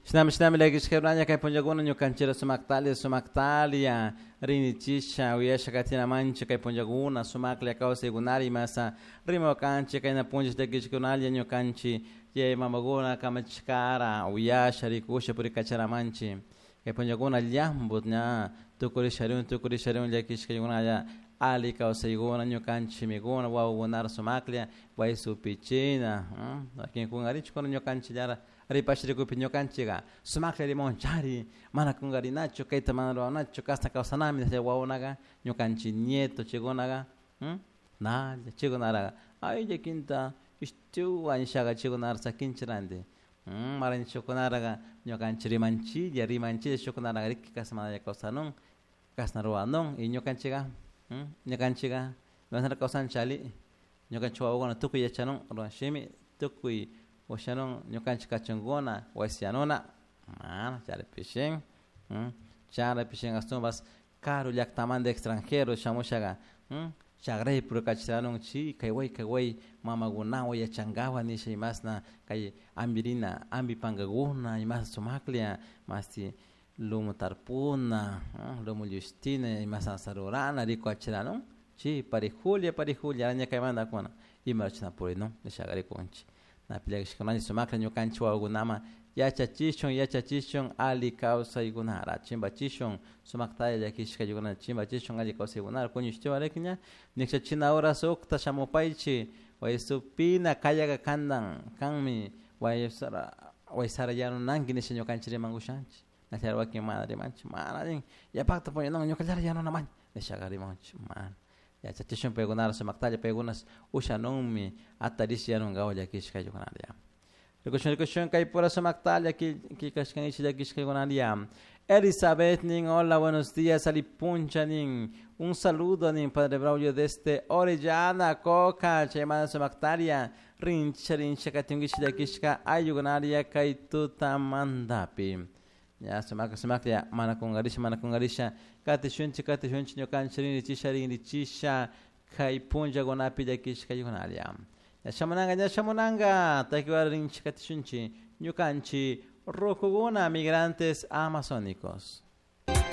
Shinami shinami llakishka kay punllakuna ñukanchira sumaktalia sumaktalia rinichisha uyasha katinamanchik kay punllakuna sumaklla kawsaykunari masa rimakanchik kayna punlla llakishkunalla ñukanchik yaya mamakuna kamachishkara uyasha rikusha purikacharamanchik kay punllakuna llampu ña tukurisharun tukurisharun llakishkakunalla ali kawsaykuna ñukanchik mikuna wawakunara sumaklla waysupichina wakinkunarichukuna ñukanchikllara ripashrikupi ñukanchikka sumaklla rimawanchari mana kunkarinachu kayta mana ruranachu kashna kawsanami chay wawakunaka ñukanchik nieto chaykunaka nalla chaykunaraka ay llakinta ishtiwan nishaka chaykunara sakinchik ranti mara shukkunaraka ñukanchik rimanchilla rimanchilla shukkunaraka riki kashna mana kawsanun kashna ruranun y ñukanchikka ñukanchikka imashnara kawsanchik ali ñukanchik wawakuna tukuy yachanun shimi tukuy ushanun ñukanchik kachunkuna wasiyanuna mana charipishin charipishin ashtawanpas karu llaktamanta extranjero shamushaka chagraypi purikachirarun chi kay way kay way mamakunawan yachankapak nisha imashna kay ampirina ampi pankakuna imashna sumaklla mashti lumu tarpuna lumu llushtina imashna rurana rikuachiranun chi parijulla parijulla ña kaymanta ima chashna purinun nishaka rikunchik napi llakishkakunalla sumaklla ñukanchik wawakunaman yachachishun yachachishun alli kawsaykunara chimpachishun sumaktalla llakishkaykunata chimpachishun alli kawsaykunara kuñushtiwan ña nikshachina horas ukta shamupaychik waysupina kayaka kantan kanmi waysara waysara yanunanki nisha ñukanchik rimankushanchik nachari wakin mana rimanchik mana nin yapakta puñanun ñukallara yanunamani nishaka rimanchik mana yachachishun paykunara sumaktalla paykuna ushanunmi atarish yanunkawan llakishkaykunata rikushun rikushun kaypura sumaktalla killkashkanchik llakishkaykunalla. Elizabeth nin, hola, buenos días, Alipuncha nin, un saludo nin, Padre Braulio desde Orellana, Coca, chaymanta sumaktaria, rincha rincha katinkichik llakishka ayllukunaria kay tutamantapi. Ya sumaklla sumaklla mana kunkarisha mana kunkarisha katishunchik katishunchik ñukanchik rinrichisha rinrichisha kay punllakunapi llakishkaykunalla. Ña shamunanka ña shamunanka takiwara rinchik katishunchik ñukanchik rukukuna migrantes amazónicos.